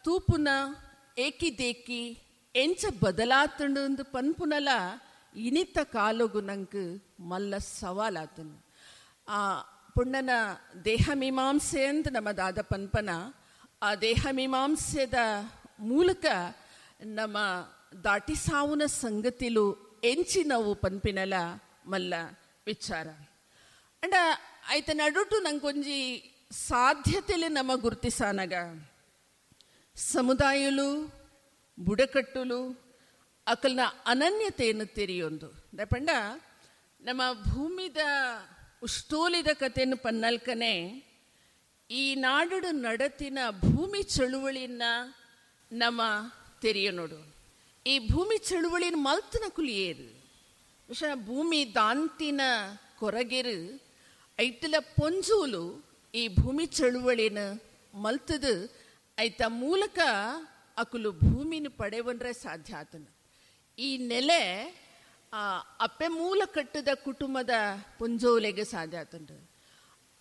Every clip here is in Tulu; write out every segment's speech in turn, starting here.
ತೂಪುನ ಏಕಿದೇಕಿ ಎಂಚ ಬದಲಾತಂಡು ಪನ್ಪುನಲ ಇನಿತ ಕಾಲೊಗು ನಂಗೆ ಮಲ್ಲ ಸವಾಲಾತನು. ಆ ಪುಣ್ಣನ ದೇಹ ಮೀಮಾಂಸೆ ಅಂತ ನಮ್ಮ ದಾದ ಪನ್ಪನ, ಆ ದೇಹ ಮೀಮಾಂಸೆದ ಮೂಲಕ ನಮ್ಮ ದಾಟಿ ಸಾವುನ ಸಂಗತಿಲು ಎಂಚಿನವು ಪನ್ಪಿನಲ ಮಲ್ಲ ವಿಚಾರ. ಅಂಡ ಆಯ್ತ ನಡುಟು ನಂಗೊಂಜಿ ಸಾಧ್ಯತೆಲೆ ನಮ್ಮ ಗುರುತಿಸಾನಗ ಸಮುದಾಯಲು ಬುಡಕಟ್ಟುಲು ಅಕಲ್ನ ಅನನ್ಯತೆಯನ್ನು ತೆರೆಯೊಂದು ದಪಂಡ ನಮ್ಮ ಭೂಮಿದ ಉಷ್ಟೋಲಿದ ಕಥೆಯನ್ನು ಪನ್ನಲ್ಕನೆ ಈ ನಾಡು ನಡತಿನ ಭೂಮಿ ಚಳುವಳಿನ ನಮ್ಮ ತೆರೆಯ ನೋಡು. ಈ ಭೂಮಿ ಚಳುವಳಿನ ಮಲ್ತನ ಕುಲಿಯೇರು ಭೂಮಿ ದಾಂತಿನ ಕೊರಗೆರು ಐತಲ ಪೊಂಜೂಲು ಈ ಭೂಮಿ ಚಳುವಳಿನ ಮಲ್ತದು ಐತ ಮೂಲಕ ಅಕುಲು ಭೂಮಿನ ಪಡೆವನ್ರೆ ಸಾಧ್ಯ ಆತನ. ಈ ನೆಲೆ ಅಪ್ಪೆ ಮೂಲ ಕಟ್ಟದ ಕುಟುಂಬದ ಪೊಂಜೋಲೆಗೆ ಸಾಧ್ಯ ಆತಂಡು.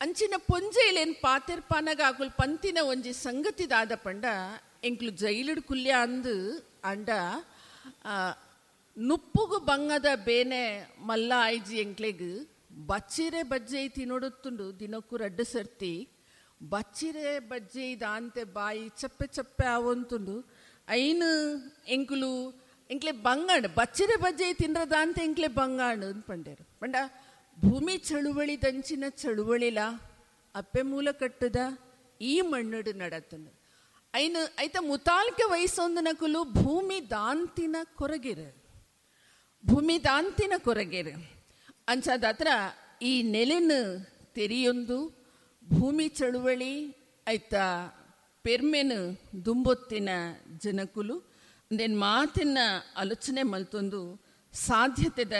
ಅಂಚಿನ ಪೊಂಜೆಲೇನು ಪಾತಿರ್ಪಾನಾಗ ಅಕುಲು ಪಂತಿನ ಒಂಜಿ ಸಂಗತಿದಾದ ಪಂಡ ಎಂಕ್ಲು ಜೈಲುಡು ಕುಲ್ಯ ಅಂದು ಅಂಡ ನುಪ್ಪುಗು ಬಂಗದ ಬೇನೆ ಮಲ್ಲ ಆಯ್ಜಿ ಎಂಕ್ಲೆಗ್ ಬಚ್ಚಿರೆ ಬಜ್ಜೆ ತಿನ್ನೊಡುತ್ತುಂಡು ದಿನಕ್ಕೂ ರಡ್ಡು ಸರ್ತಿ ಬಚ್ಚಿರೆ ಬಜ್ಜೆ ದಾಂತೆ ಬಾಯಿ ಚಪ್ಪೆ ಚಪ್ಪೆ ಆವಂತುಂಡು ಐನು ಎಂಕುಲು ಎಂಕ್ಲೆ ಬಂಗಾಂಡ್ ಬಚ್ಚಿರೆ ಬಜ್ಜೆ ತಿನ್ರದಾಂತೆ ಎಂಕ್ಲೆ ಬಂಗಾಂಡ್ ಅಂತ ಪಂಡೇರು. ಪಂಡ ಭೂಮಿ ಚಳುವಳಿ ದಂಚಿನ ಚಳುವಳಿಲ ಅಪ್ಪೆ ಮೂಲ ಕಟ್ಟದ ಈ ಮಣ್ಣುಡು ನಡತನು ಐನು ಐತ ಮುತಾಲ್ಕೆ ವಯಸ್ಸೊಂದು ನಕುಲು ಭೂಮಿ ದಾಂತಿನ ಕೊರಗಿರು ಭೂಮಿ ದಾಂತಿನ ಕೊರಗಿರು ಅಂಚಾದತ್ರ ಈ ನೆಲೆನ ತೆರೆಯೊಂದು ಭೂಮಿ ಚಳುವಳಿ ಐತ ಪೆರ್ಮೆನು ದುಂಬೊತ್ತಿನ ಜನಕುಲು ಅಂದೇನು ಮಾತಿನ ಆಲೋಚನೆ ಮಲ್ತೊಂದು ಸಾಧ್ಯತೆದ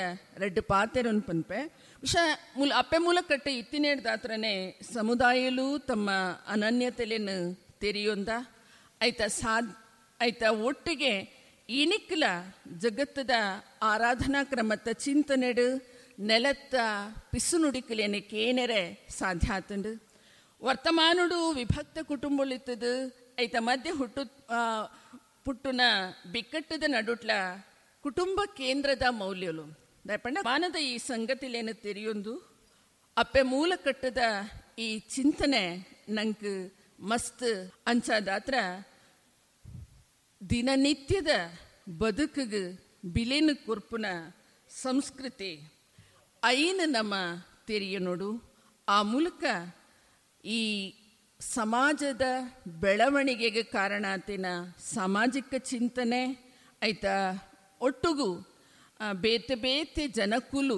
ರೆಡ್ಡು ಪಾತೆರೊಂದು ಪನ್ಪೆ ವಿಷ ಮೂಲ ಅಪ್ಪೆ ಮೂಲ ಕಟ್ಟೆ ಇತ್ತಿನೇಡ್ದಾತ್ರನೇ ಸಮುದಾಯಲು ತಮ್ಮ ಅನನ್ಯತೆಲೆನು ತೆರೆಯೊಂದ ಐತ ಐತ ಒಟ್ಟಿಗೆ ಇನಿಕ್ಲ ಜಗತ್ತದ ಆರಾಧನಾ ಕ್ರಮತ್ತ ಚಿಂತನೆಡು ನೆಲತ್ತ ಪಿಸುನುಡಿಕಲೇನೆ ಕೇನೆರೆ ಸಾಧ್ಯ ಆತಂಡು. ವರ್ತಮಾನುಡು ವಿಭಕ್ತ ಕುಟುಂಬಲಿತ್ತದು ಐತ ಮಧ್ಯೆ ಹುಟ್ಟು ಪುಟ್ಟುನ ಬಿಕ್ಕಟ್ಟದ ನಡುಟ್ಲ ಕುಟುಂಬ ಕೇಂದ್ರದ ಮೌಲ್ಯಲು ದಯಪಂಡ ಮಾನದ ಈ ಸಂಗತಿಲೇನು ತೆರೆಯೊಂದು ಅಪ್ಪೆ ಮೂಲ ಕಟ್ಟದ ಈ ಚಿಂತನೆ ನಂಗೆ ಮಸ್ತ್ ಅಂಚಾದಾತ್ರ ದಿನನಿತ್ಯದ ಬದುಕಿಗೆ ಬಿಲೇನು ಕೊರ್ಪುನ ಸಂಸ್ಕೃತಿ ಐನು ನಮ್ಮ ತೆರೆಯ ನೋಡು. ಆ ಮೂಲಕ ಈ ಸಮಾಜದ ಬೆಳವಣಿಗೆಗೆ ಕಾರಣ ಆತಿನ ಸಾಮಾಜಿಕ ಚಿಂತನೆ ಆಯ್ತಾ ಒಟ್ಟುಗೂ ಬೇತೆ ಬೇತೆ ಜನಕುಲು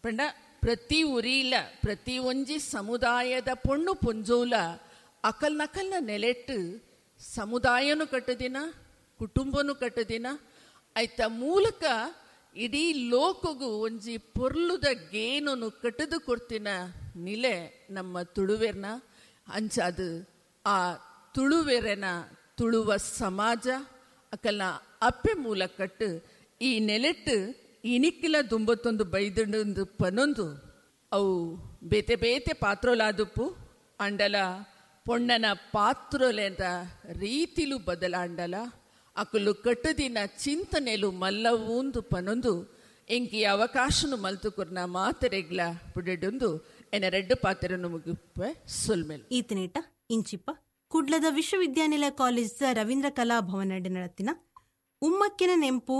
ಪಂಡ ಪ್ರತಿ ಉರಿಲ ಪ್ರತಿ ಒಂಜಿ ಸಮುದಾಯದ ಪೊಣ್ಣು ಪೊಂಜೋಲ ಅಕಲ್ ನಕಲ್ನ ನೆಲೆಟ್ಟು ಸಮುದಾಯನೂ ಕಟ್ಟದಿನ ಕುಟುಂಬನೂ ಕಟ್ಟದಿನ ಆಯ್ತಾ ಮೂಲಕ ಇಡೀ ಲೋಕಗೂ ಒಂಜಿ ಪೊರ್ಲುದ ಗೇನನ್ನು ಕಟ್ಟದು ಕೊಡ್ತಿನ ನಿಲೆ ನಮ್ಮ ತುಳುವೆರ್ನ ಅಂಚಾದು ಆ ತುಳುವೆರನ ತುಳುವ ಸಮಾಜ ಅಕಲ್ನ ಅಪ್ಪೆ ಮೂಲ ಕಟ್ಟು ಈ ನೆಲೆಟ್ಟು ಇನಿಕ್ಕಿಲ ದುಂಬತ್ತೊಂದು ಬೈದಂಡು ಪನೊಂದು ಅವು ಬೇತೆ ಬೇತೆ ಪಾತ್ರೋಲಾದುಪ್ಪು ಅಂಡಲ ಪೊಣ್ಣನ ಪಾತ್ರೋಲೆದ ರೀತಿಲು ಬದಲಾಂಡಲ ಅಕುಲು ಕಟ್ಟುದಿನ ಚಿಂತನೆಲು ಮಲ್ಲವೂಂದು ಪನೊಂದು ಎಂಕಿ ಅವಕಾಶನು ಮಲ್ತುಕುರ್ನ ಮಾತೆರೆಗ್ಲ ಪುಡೆಡೊಂದು ಎನ್ನ ರೆಡ್ಡು ಪಾತ್ರೆಯನ್ನು ಮುಗಿಪೆ ಸೊಲ್ಮೆಲ್. ಈತನೇಟ ಇಂಚಿಪ್ಪ ಕುಡ್ಲದ ವಿಶ್ವವಿದ್ಯಾನಿಲಯ ಕಾಲೇಜ್ ರವೀಂದ್ರ ಕಲಾ ಭವನ ನಡತಿನ ಉಮ್ಮಕ್ಕಿನ ನೆಂಪು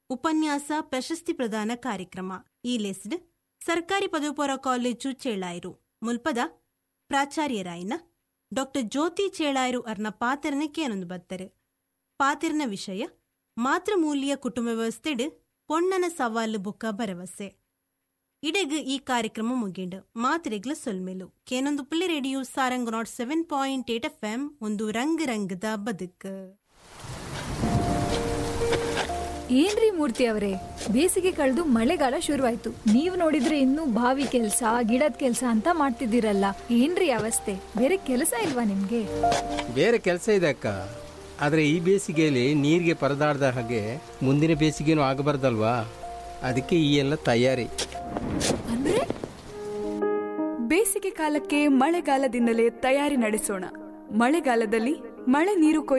ಉಪನ್ಯಾಸ ಪ್ರಶಸ್ತಿ ಪ್ರದಾನ ಕಾರ್ಯಕ್ರಮ ಈ ಲೆಸ್ಡ್ ಸರ್ಕಾರಿ ಪದವಿಪೂರ್ವ ಕಾಲೇಜು ಚೇಳಾಯಿರು ಮುಲ್ಪದ ಪ್ರಾಚಾರ್ಯರಾಯಿನ ಡಾಕ್ಟರ್ ಜ್ಯೋತಿ ಚೇಳಾಯಿರು ಅರ್ನ ಪಾತ್ರನ ಕೇನೊಂದು ಬತ್ತರು. ಪಾತಿರ್ನ ವಿಷಯ ಮಾತೃಮೂಲ್ಯ ಕುಟುಂಬ ವ್ಯವಸ್ಥೆಡು ಪೊಣ್ಣನ ಸವಾಲು ಬುಕ್ಕ ಭರವಸೆ. ಇಡೆಗ್ ಈ ಕಾರ್ಯಕ್ರಮ ಮುಗಿಂಡು ಮಾತ್ರೆಗ್ಲ ಸೊಲ್ಮೆಲು ಕೇನೊಂದು ಪುಳ್ಳಿ ರೇಡಿಯೋ ಸಾರಂಗ್ 107.8 FM ಒಂದು ರಂಗ್ ರಂಗದ ಬದುಕು. ಏನ್ರಿ ಮೂರ್ತಿ ಅವರೇ, ಬೇಸಿಗೆ ಕಳೆದು ಮಳೆಗಾಲ ಶುರುವಾಯ್ತು, ನೀವು ನೋಡಿದ್ರೆ ಇನ್ನೂ ಬಾವಿ ಕೆಲಸ ಗಿಡದ ಕೆಲಸ ಅಂತ ಮಾಡ್ತಿದ್ದೀರಲ್ಲ, ಏನ್ರಿ ಅವಸ್ಥೆ? ಬೇರೆ ಕೆಲಸ ಇಲ್ವಾ ನಿಮ್ಗೆ? ಬೇರೆ ಕೆಲಸ ಇದೆ ಅಕ್ಕ, ಆದರೆ ಈ ಬೇಸಿಗೆಯಲ್ಲಿ ನೀರಿಗೆ ಪರದಾಡ್ದ ಹಾಗೆ ಮುಂದಿನ ಬೇಸಿಗೆನೂ ಆಗಬಾರ್ದಲ್ವಾ, ಅದಕ್ಕೆ ಈ ಎಲ್ಲ ತಯಾರಿ. ಅಂದ್ರೆ ಬೇಸಿಗೆ ಕಾಲಕ್ಕೆ ಮಳೆಗಾಲದಿಂದಲೇ ತಯಾರಿ ನಡೆಸೋಣ. ಮಳೆಗಾಲದಲ್ಲಿ ಮಳೆ ನೀರು